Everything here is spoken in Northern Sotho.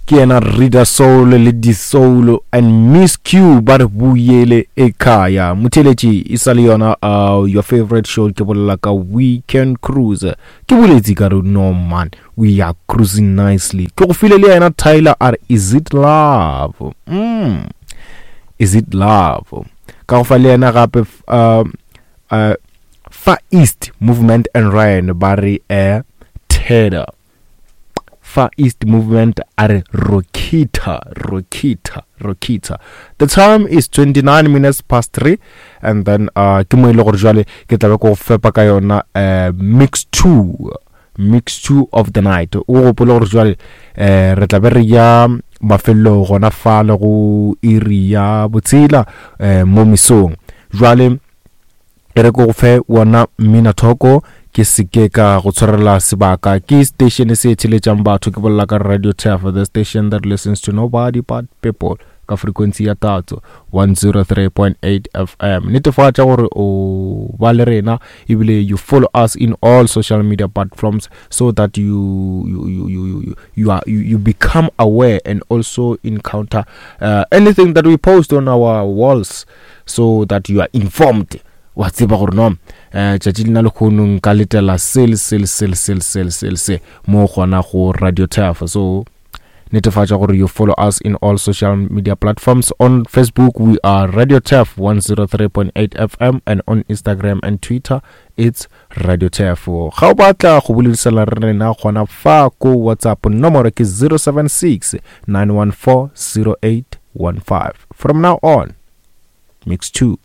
Ke yena Rida Soul le Disoul and Miss Q ba re buyele ekhaya. Motheeletši e sa le yona uh, your favorite show ke bolela ka Weekend Cruise. Ke boletse ka re no man, we are cruising nicely. Ke go file le yena Tyler a re is it love? Mm. Is it love? Ka go fa le yena gape uh, uh, Far East Movement and Ryan ba re eh Tedder. Far East Movement a re Rokita, Rokita, Rokita. The time is 29 minutes past 3 and then uh ke mo ile e gore jwale ke tla be go fepa ka yona uh, mix 2 mix 2 of the night. O gopole gore jwale eh re tla be re ya mafelelong gona fa le go iri ya botshela eh mo mesong. Jwale E re ke go fe wona mminathoko, ke se ke ka go tshwarela sebaka. Ke station se theletšang batho, ke bolela ka Radio Turf, the station that listens to nobody but people, ka frequency ya tatso 103.8 FM. Netefatša gore o ba le rena ebile you follow us in all social media platforms so that you you you you you, you are you, you become aware and also encounter uh, anything that we post on our walls so that you are informed wa tseba gore no eh tšatši lena lekgono nka letela se le se le se le se le se le se le se mo gona go radio turf. So netefatša gore you follow us in all social media platforms. On Facebook we are Radio Turf 103.8 FM and on Instagram and Twitter it's Radio Turf. Ga o batla go boledisana re rena gona fa ko WhatsApp nomoro ke 076 914 0815. From now on, mix 2.